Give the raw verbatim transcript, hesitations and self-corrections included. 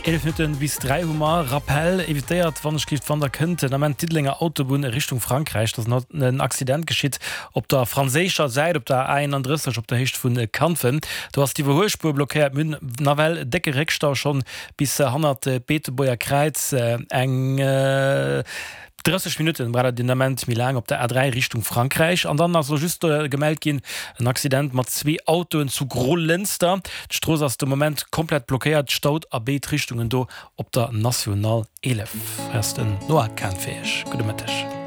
Eelef Minutten bis dräi hu mer. Rappel, Evitéiert wann ech giff, wann der kënnt, den Ament d'Diddelenger Autobunn Richtung Frankräich. Do ass en Accident geschitt op der franséischer Säit op der A einunddrësseg op der Héicht vu Kanfen. Do ass d'Iwwerhuelspuer blockéiert. Mir hunn nawell décke Réckstau schonn bis hannert d'Beetebuerger Kräiz. Eng drësseg Minutten braucht der den Ament méi laang op der A dräi Richtung Frankräich. An dann ass elo just gemellt ginn en Accident mat zwee Autoen zu Grolënster. D'Strooss ass de Moment komplett blockéiert, staut a béid Richtungen do op der National eelef. Hei ass den Noah Kahn fir Iech. Gudde Mëtteg.